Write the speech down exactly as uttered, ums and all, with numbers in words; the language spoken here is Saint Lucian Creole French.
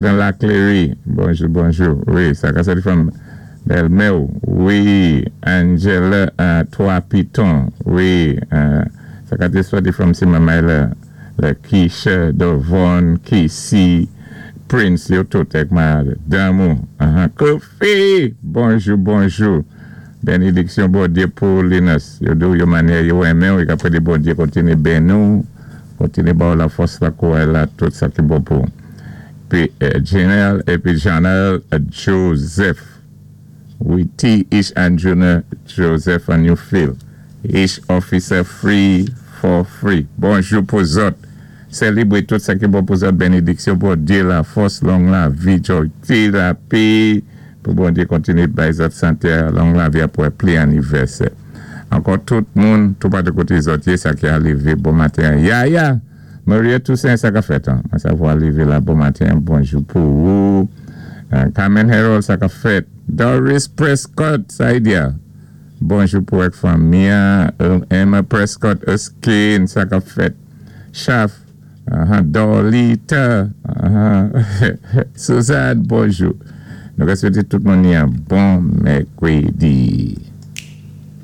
Dan Laclery, bonjou, bonjou. Wi, sa ka sòti from bèlmè. Wi, Angela uh, Trois Pitons. Wi, uh, sa ka té sòti from si manmay la, la Keisha, Devon, Casey, Prince, yo tout èk madanm ou. Uh-huh. Kofi, bonjou, bonjou. Bénédiksyon Bondyé pou Linus. Yo di yo mannyè yo renmen, yo ka pédé Bondyé kontiné béni ou, kontiné ba ou lafòs la kouray la tout sa ki bon pou. Pi euh, Janelle épi Janelle euh, Joseph. Wi, T. Ish and Junior Joseph and you feel. Ish Officer Free for Free. Bonjou pou zòt. Sélébwé tout sa ki bon pou zòt. Bénédiksyon Bondyé, lafòs, long lavi, joyti, lapè. Pou Bondyé kontiné bay zòt santé, long lavi apwé pli anivèsè. Ankò tout moun, tout patou koté zòt yé, sa ki a lévé bon maten. Ya, ya! Maria Toussaint, sa ka fèt, an. Sa va lévé la bon maten. Bonjou pou ou. Euh, Carmen Harold, sa ka fèt. Doris Prescott, sa y di. Bonjou pou èk fanmi. Emma Prescott, Erskine, sa ka fèt. Chaf, uh-huh, Dolita, uh-huh. Suzanne, bonjou. Nou ka swété tout moun yon bon mèkwédi.